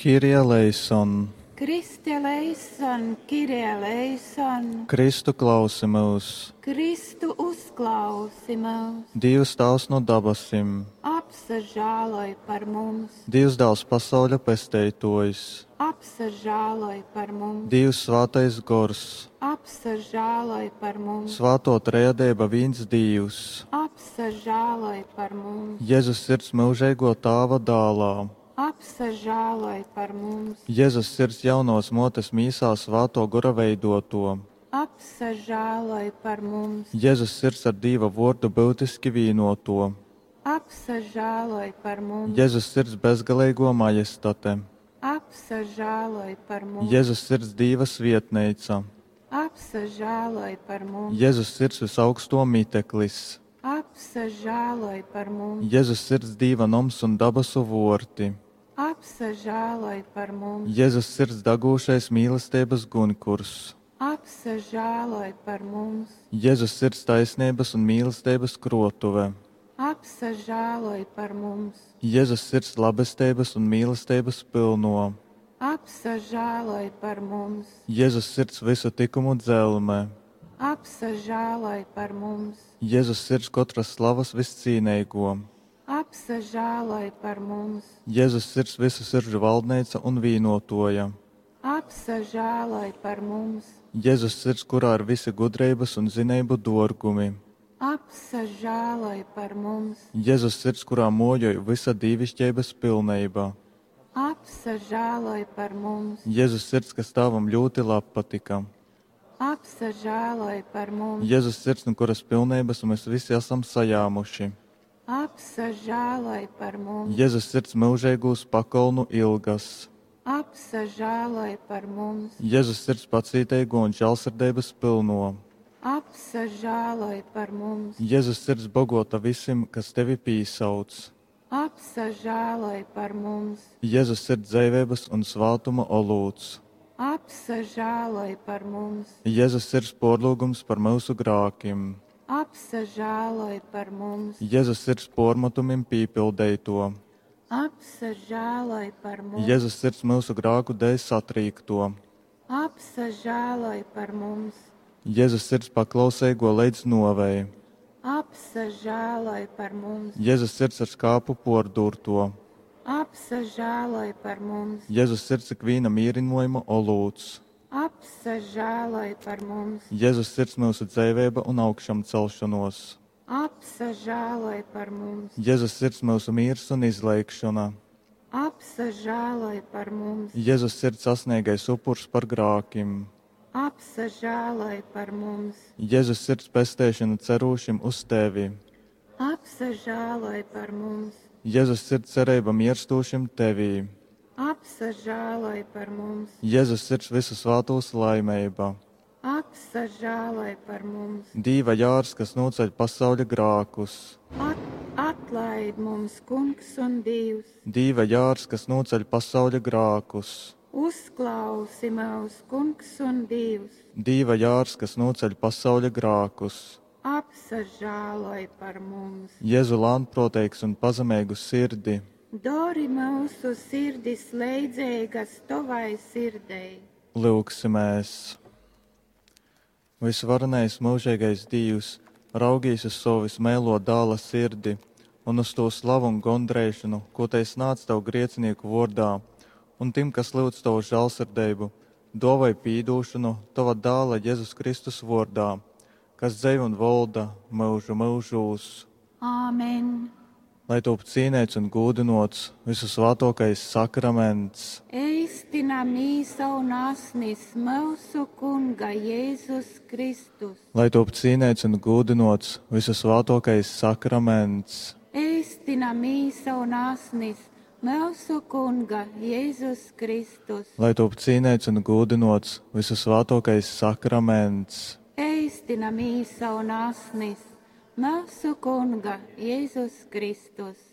Kyrie eleison! Christe eleison, Kyrie eleison! Kristu klausi myus! Kristu uzklausi myus! Dīvs Tāvs nu dabasim. Apsažāloj par mums! Dīvs Dāls pasauļa Pesteitōjs. Apsažāloj par mums! Dīvs Svātais Gors. Apsažāloj par mums! Svātō Trejadeiba vīns Dīvs. Apsažāloj par mums! Jezus Sirds myužeigō Tāva Dālā. Apsažāloj par mums! Jezus Sirds jaunovas mōtes mīsā Svātō Gora veidōtō. Apsažāloj par mums! Jezus Sirds ar Dīva Vōrdu byutiski vīnōtō. Apsažāloj par mums! Jezus Sirds bezgaleigō majestate. Apsažāloj par mums! Jezus Sirds Dīva svietneica. Apsažāloj par mums! Jezus Sirds vysaugstō miteklis. Apsažāloj par mums! Jezus Sirds Dīva noms un dabasu vōrti. Apsažāloj par mums! Jezus Sirds dagūšais mīlesteibas gunkurs. Apsažāloj par mums! Jezus Sirds taisneibas un mīlesteibas krōtuve. Apsažāloj par mums! Jezus Sirds labesteibas un mīlesteibas pylnō. Apsažāloj par mums! Jezus Sirds vysu tykumu dzelme. Apsažāloj par mums! Jezus Sirds kotras slavas vyscīneigō. Apsažāloj par mums! Jezus Sirds vysu siržu valdneica un vīnōtōja. Apsažāloj par mums! Jezus Sirds, kurā ir visi gudreibas un zineibu dōrgumi. Apsažāloj par mums! Jezus Sirds, kurā mōjoj vysa dīviškeibas pilneiba. Apsažāloj par mums! Jezus Sirds, kas Tāvam ļūti labpatyka. Apsažāloj par mums! Jezus Sirds, nu kuras pilneibas mēs visi esam sajāmuši. Apsažāloj par mums! Jezus Sirds myužeigūs pakolnu ilgas. Apsažāloj par mums! Jezus Sirds pacīteigo un žālsirdeibas pylno. Apsažāloj par mums! Jezus Sirds bogota visim, kas tevi pīsauc. Apsažāloj par mums! Jezus Sirds dzeiveibas un svātuma olūts. Apsažāloj par mums! Jezus Sirds pōrlyugums par myusu grākim. Apsažāloj par mums! Jezus Sirds pōrmatumim pīpildeitō. Apsažāloj par mums! Jezus Sirds myusu grāku dēļ satrīktō. Apsažāloj par mums! Jezus Sirds paklauseigō leidz nōvei. Apsažāloj par mums! Jezus Sirds ar skāpu pōrdūrto. Apsažāloj par mums! Jezus Sirds ikvīna mīrynōjuma olūts. Apsažāloj par mums! Jezus Sirds myusu dzeiveiba un augšamcelšonōs. Apsažāloj par mums! Jezus Sirds myusu mīrs un izleigšona. Apsažāloj par mums! Jezus Sirds asneigais upurs par grākim. Apsažāloj par mums! Jezus Sirds pesteišona cerūšim uz tevi. Apsažāloj par mums! Jezus Sirds cereiba mierstūšim tevī. Apsažāloj par mums! Jezus Sirds visu svātūs laimeiba. Apsažāloj par mums! Dīva jārs, kas nūceļ pasauļa grākus. At atlaid mums, Kungs un Dievs! Dīva jārs, kas nūceļ pasauļa grākus. Uzklausi mūs, Kungs un Dievs! Dīva jārs, kas nūceļ pasauļa grākus. Apsažāloj par mums! Jēzu lānproteigs un pazemeigu sirdi. Dori mūsu sirdis leidzeigas tovai sirdei. Lūgsimies! Visvarenais mūžīgais Dievs, raugīs uz savu vismēlo dāla sirdi un uz to slavu un gondreišanu, ko te nāc tev grieциnieku vārdā, un tim, kas lūdz tavu žēlsirdību, dovai pīdūšanu tava dāla Jēzus Kristus vārdā, kas dzēv un volda mūžu mūžūs. Āmen! Lai top cīnēts un gūdinots visu svātokais sakraments. Eistina mīsa un asnis mūsu Kunga Jēzus Kristus. Lai top cīnēts un gūdinots visu svātokais sakraments. Eistina mīsa un asnis mūsu Kunga Jēzus Kristus. Lai top cīnēts un gūdinots visu svātokais sakraments. Eistina mīsa un asnis mūsu Kunga Jēzus Kristus.